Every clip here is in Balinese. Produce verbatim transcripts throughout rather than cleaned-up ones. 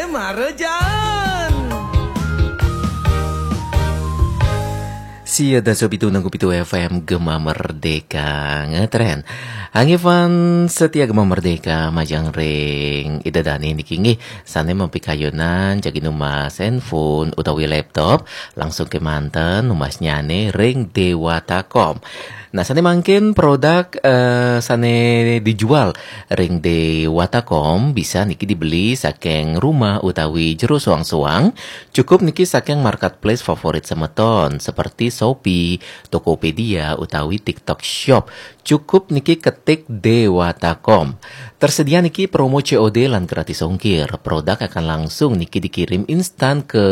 Mare jaan. Sia dasa pitu nang pitu F M Gema Merdeka ngetren. Angge fans setia Gema Merdeka, majang ring Ida Dane niki nggih sane mapikayunan jagi numbas handphone utawi laptop, langsung kemanten numbasnyane ring Dewata Kom. Nah, sane mangkin produk eh, sane dijual ring Dewata Kom bisa niki dibeli saking rumah utawi jero soang-soang. Cukup niki saking marketplace favorit semeton seperti Shopee, Tokopedia utawi TikTok Shop. Cukup niki ketik Dewata Kom. Tersedia niki promo C O D lan gratis ongkir. Produk akan langsung niki dikirim instan ke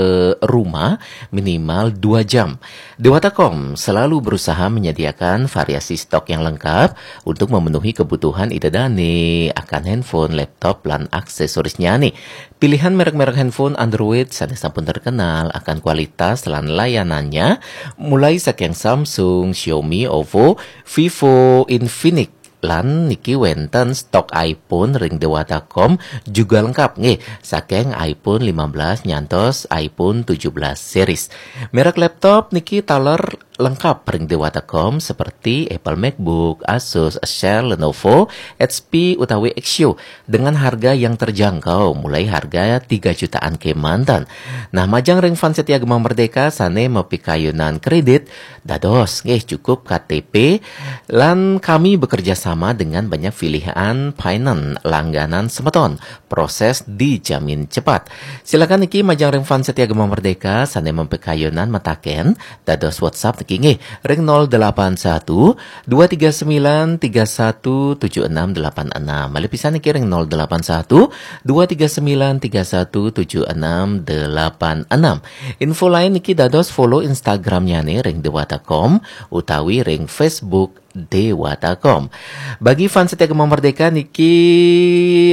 rumah minimal dua jam. Dewata Kom selalu berusaha menyediakan variasi stok yang lengkap untuk memenuhi kebutuhan Ida Dane akan handphone, laptop, lan aksesorisnya nih. Pilihan merek-merek handphone Android sane sampun terkenal akan kualitas lan layanannya, mulai saking Samsung, Xiaomi, Oppo, Vivo, Infinix, lan niki wenten stok iPhone ring Dewata Kom juga lengkap nggih, saking iPhone lima belas nyantos iPhone tujuh belas series. Merek laptop niki taler lengkap ring Dewata Kom seperti Apple MacBook, Asus, Acer, Lenovo, H P utawi Axioo dengan harga yang terjangkau, mulai harga tiga jutaan kemanten. Nah, majang ring fans setia Gema Merdeka sane mapikayunan kredit, dados nggih cukup K T P, lan kami bekerja sama dengan banyak pilihan finance langganan semeton. Proses dijamin cepat. Silakan niki majang ring fans setia Gema Merdeka sane mapikayunan mataken dados WhatsApp niki nggih ring nol delapan satu dua tiga sembilan tiga satu tujuh enam delapan enam. Malih pisan niki ring nol delapan satu dua tiga sembilan tiga satu tujuh enam delapan enam. Info lain niki dados follow Instagramnyane ring Dewata Kom utawi ring Facebook Dewata Kom. Bagi fans setia Gema Merdeka niki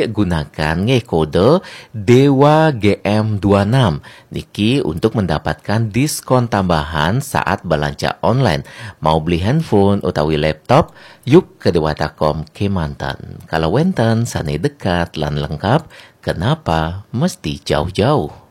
gunakan nggih kode Dewa G M dua enam niki untuk mendapatkan diskon tambahan saat belanja online. Mau beli handphone utawi laptop, yuk ke Dewata Kom kemanten. Kalau wenten sane dekat lan lengkap, kenapa mesti jauh-jauh?